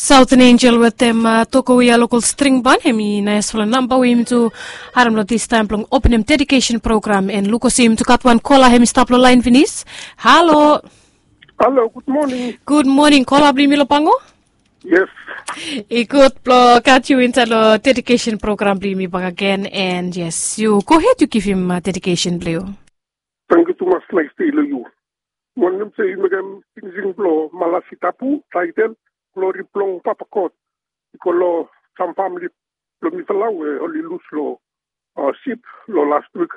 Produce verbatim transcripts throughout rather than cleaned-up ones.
Sauten Enjel wetem toko we ya lokol string ban hem i naesfala namba we yumi tu harem long distaem blong openem dedikesen program. En luk olsem yumi tu gat wan kola hem i stap long laen finis. Halo. Halo, gud moning. Gud moning, kola blong yumi long pango. Yes. I gud blong gat yu insaed long dedikesen program blong yumi bakagen. En yes, yu gohed yu givim dedikesen blong yu. Tangkiu tumas, naes dei long yu. Wantem se yu mekem singsing blong Malasi Tabu, taetel Glori blong Papa God. I go long sam famili blong mifala we oli lus long sip long las wik.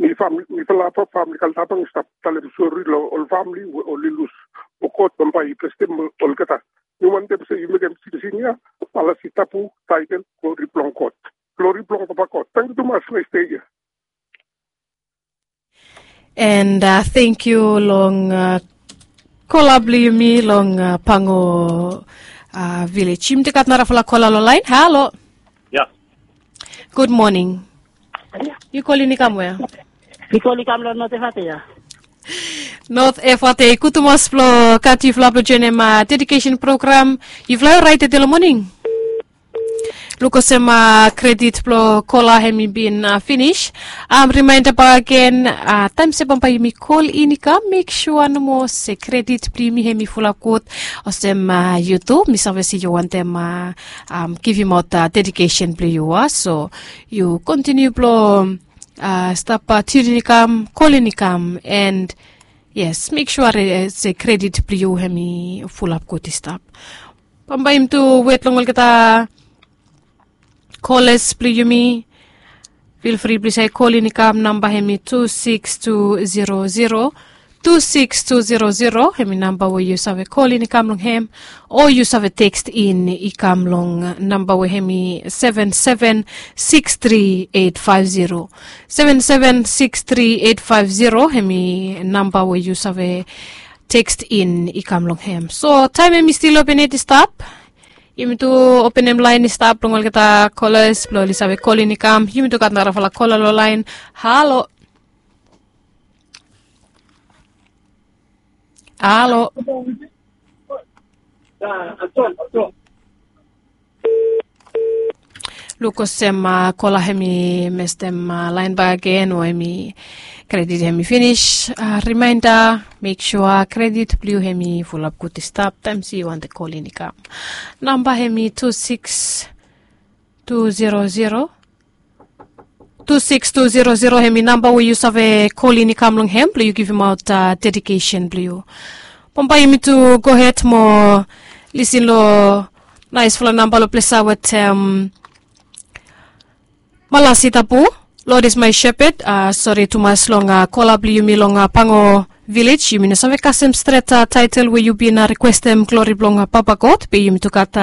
Mifala famili Kaltabang i stap talem sori long ol famili we oli lus. Mo God bambae i blesem olgeta. Mi wantem se yu mekem singsing ya, Malasi Tabu, taetel Glori blong God. Glori blong Papa God. Tangkiu tumas, naes dei ya. And thank you long kola blong yumi long Pango Village. Yumi tu gat narafala kola long laen. Halo. Ya. Gud moning. Yu kolin i kam wea? Mi kolin i kam long Not Efate ya. Not Efate. Gud tumas blong gat yufala blong joenem dedikesen program. Yufala i oraet tede long moning? Luk olsem kredit blong kola hem i bin finis. Rimaenda bakagen, taem se bambae yumi kolin i kam, mek sua nomo se kredit blong yumi hem i fulap gud. Olsem yu tu, mi save se yu wantem givimaot dedikesen blong yu, a? So yu kontiniu blong stap tiunin i kam, kolin i kam, and yes, mek sua se kredit blong yu hem i fulap gud i stap. Bambae yumi tu wet long olgeta koles blong yumi. Fil fri blong yu save kolin i kam, namba hem i tu siks tu zero zero, tu siks tu zero zero, hem i namba we yu save kolin i kam long hem, o yu save tekst in i kam long namba we hem i seven seven siks tri eit faef zero. Seven seven siks tri eit faef zero hem i namba we yu save tekst in i kam long hem. So taem hem i stil open yet i stap. Yumi tu openem laen i stap long olgeta kolas blong oli save kolin i kam. Yumi tu gat narafala kola long laen. Halo. Halo. Luk olsem kola hem i mestem laen bakegen o hem i kredit hem i finis. Rimaenda, mek sua kredit blong yu hem i fulap gud i stap taem se yu wantem kolin i kam. Namba hem i tu siks tu zero zero. Tu siks tu zero zero hem i namba we yu save kolin i kam long hem blong yu givimaot dedikesen blong yu. Bambae yumi tu gohed mo lisin long naesfala namba long ples ya wetem Malasi Tabu, Lord is my shepherd. Sori tumas long kola blong yumi long Pango Village. Yumi no save kasem stret taetel we yu bin rikwestem, Glori blong Papa God. Be yumi tu gat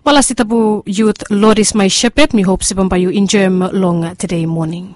Malasi Tabu Yut, Lord is my shepherd. Mi hop se bambae yu enjoem long tede moning.